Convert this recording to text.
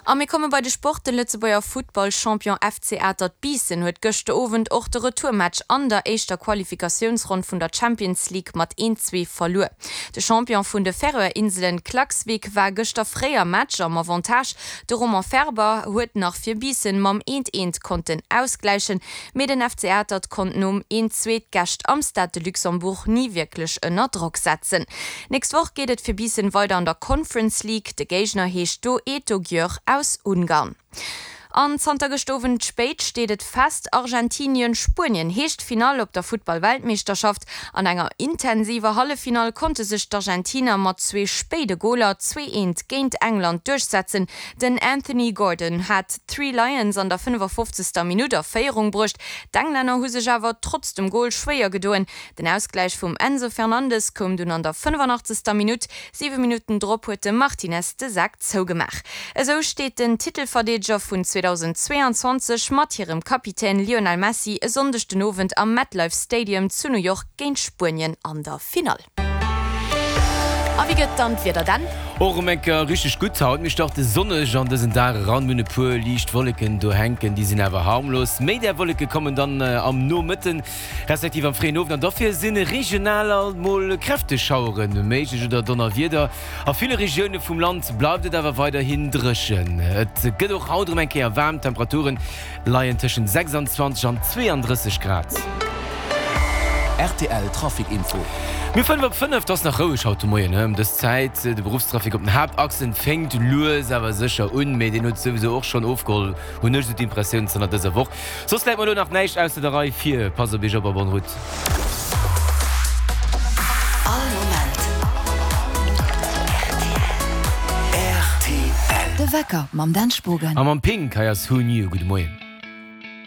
A mir komme bei de Sport, De Lëtzebuerger Futtballchampion FC Atert Biissen huet gëschter Owend och de Retourmatch an der éischter Qualifikatiounsronn vun der Champions League mat 1, 2 verluer. De Champion vun de Färöer-Inselen Klaksvík war gëschter fréi am Match am Avantage. De Romain Ferber huet nach fir Biissen mam 1, 1 konnten ausgläichen, Mee den FC Atert konnt nom 1, 2 d'Gäscht am Stade de Luxembourg ni wierklech ënner Drock setzen. Nächst Woch geet et fir Biissen weider an der Conference League. De Géigner heescht do Eto Győr aus Ungarn. An zanter gëscht Owend spéit steet et fest, Argentinien-Spuenien heescht d'Finall op der Futtball-Weltmeeschterschaft. An enger intensiver Halleffinall konnte sech d'Argentiner mat zwee spéide Goler, 2, 1, géint England duerchsetzen. Den Anthony Gordon hat d'Three Lions an der 55. Minutt a Féierung bruecht. D'Englänner hu sech awer trotz dem Gol schwéier gedoen. Den Ausgläich vum Enzo Fernandes koum dunn an der 85. Minutt. 7 Minutten drop huet de Martinez de Sak zougemaach. Esou steet den Titelverdeedeger vun 2022 mat hirem Kapitän Lionel Messi e Sonndeg den Owend am MetLife Stadium zu New York géint Spuenien an der Finall. A wéi gëtt dann d'Wieder denn? Och erëm eng Kéier richteg gutt haut. Mir starte sonneg an dësen Dag eran, mir hunn e puer liicht Wolleken do hänken, déi sinn awer harmlos. Méi där Wolleke kommen dann am Nomëtten, respektiv am fréien Owend an dofir si regional alt mol kräfteg Schauere méiglech oder Donnerwieder. A ville Regioune vum Land bleift et awer weiderhin dréchen. Et gëtt och haut erëm eng Kéier waarm, d'Temperaturen Leien tëschent 26 an 32 Grad. Rtl Trafic Info. Mir 5 op 5, 't ass nach roueg haut de Moien ëm dës Zäit. De Beruffstrafic op den Haaptachsen fénkt lues awer sécher un, mee deen huet souwisou och schonn ofgeholl, hunn ech esou d'Impressioun zanter dëser Woch. Soss läit mer elo nach näischt ausser der Rei vir. Passt op iech op a bonne route. All Moment rtl. De Wecker mam Dan Spogen. A mam Pink, hei ass Who Knew. Gudde Moien.